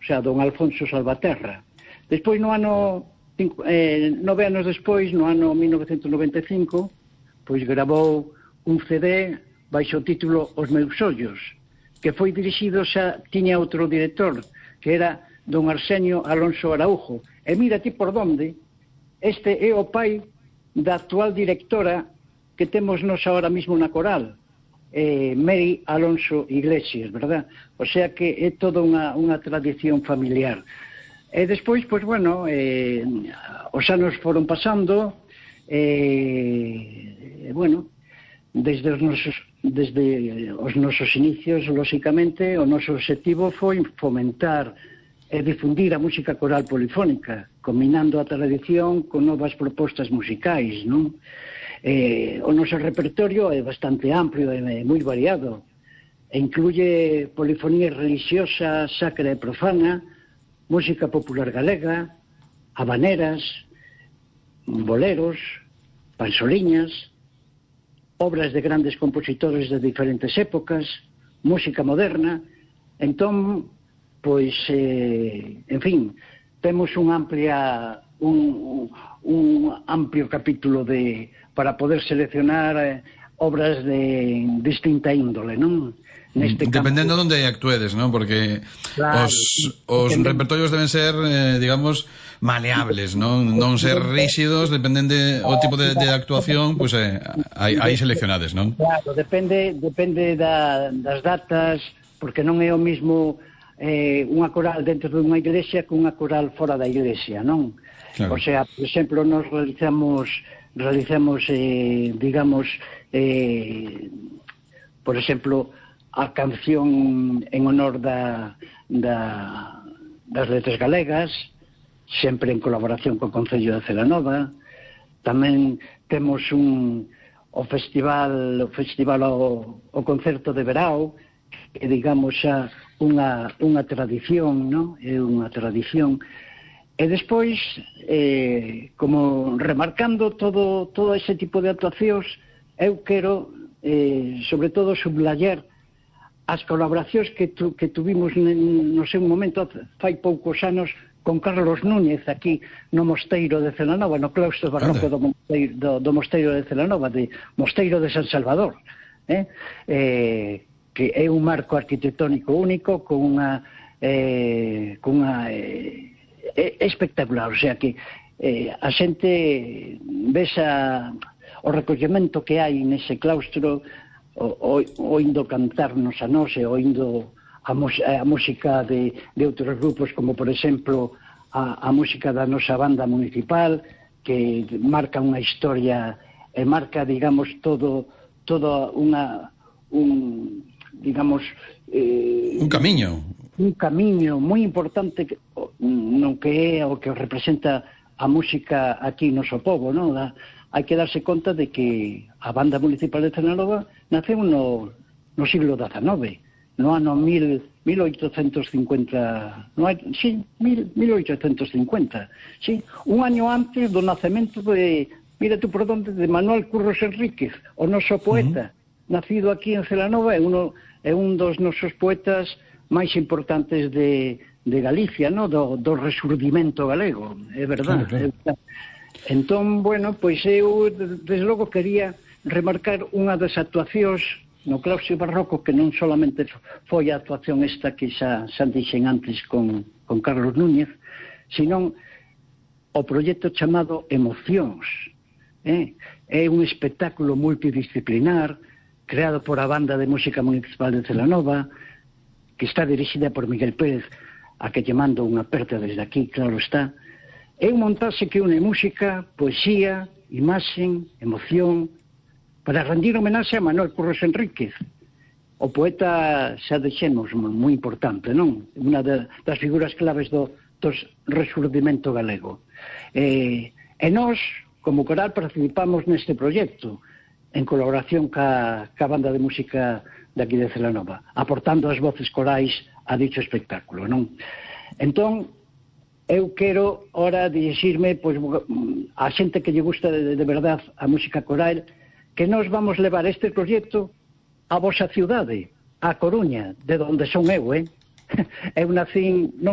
sea, don Alfonso Salvaterra. Despois, no ano 9 anos despois, no ano 1995, pois gravou un CD baixo o título Os meus ollos, que foi dirixido, xa tiña outro director, que era don Arsenio Alonso Araujo. E mira ti por donde, este é o pai da actual directora que temos nos ahora mismo na coral, Mary Alonso Iglesias, verdad? O sea que é toda unha tradición familiar. E despois, pois, bueno, os anos foron pasando, bueno, desde os nosos inicios, lóxicamente, o noso obxectivo foi fomentar e difundir a música coral polifónica, combinando a tradición con novas propostas musicais, non? O noso repertorio é bastante amplio e moi variado, e incluye polifonía religiosa, sacra e profana, música popular galega, habaneras, boleros, pansoliñas, obras de grandes compositores de diferentes épocas, música moderna. Entón, pois, en fin, temos un amplio capítulo para poder seleccionar obras de distinta índole, non? Dependendo de onde actuedes, non? Porque claro, os repertorios deben ser, digamos, maleables, non ser rígidos, dependendo o tipo de actuación, pois hai seleccionades, non? Claro, depende das datas, porque non é o mismo unha coral dentro dunha iglesia que unha coral fora da iglesia, non? Claro. O sea, por exemplo, nos realizamos digamos, por exemplo, a canción en honor das letras galegas, sempre en colaboración co Concello de Celanova. Tamén temos o festival o concerto de verao, que digamos xa unha tradición, non? É unha tradición. E despois, como remarcando todo ese tipo de actuacións, eu quero, sobre todo, sublayar as colaboracións que tuvimos no seu momento, fai poucos anos, con Carlos Núñez, aquí no Mosteiro de Celanova, no claustro barroco do Mosteiro de Celanova, de Mosteiro de San Salvador, que é un marco arquitectónico único, con unha espectacular. O sea que a xente vesa o recollemento que hai nese claustro, oindo cantarnos a nós e oindo a música de outros grupos, como por exemplo a música da nosa banda municipal, que marca unha historia e marca, digamos, todo digamos, un camiño moi importante no que é o que representa a música aquí no noso pobo, non? Hai que darse conta de que a banda municipal de Celanova naceu no siglo XIX, no ano 1850, sí, 1850, sí, un año antes do nacemento de, mira tú por donde, de Manuel Curros Enríquez, o noso poeta, nacido aquí en Celanova, é un dos nosos poetas máis importantes de Galicia, no? do resurdimento galego, é verdad. Claro. Entón, bueno, pois eu, desde logo, quería remarcar unha das actuacións no claustro barroco, que non solamente foi a actuación esta que xa dixen antes con Carlos Núñez, sino o proxecto chamado Emocións. É un espectáculo multidisciplinar creado por a Banda de Música Municipal de Celanova, que está dirixida por Miguel Pérez, a que lle mando unha aperta desde aquí, claro está. É un montaxe que une música, poesía, imaxen, emoción, para rendir homenaxe a Manuel Curros Enríquez, o poeta, xa dixemos, moi importante, non? Unha das figuras claves do resurdimento galego. E nós, como coral, participamos neste proxecto, en colaboración ca Banda de Música de aquí de Celanova, aportando as voces corais a dicho espectáculo, non? Entón, eu quero ora dirixirme a xente que lle gusta de verdad a música coral, que nós vamos levar este proxecto a vosa ciudade, a Coruña, de onde son eu, Eu nacín, non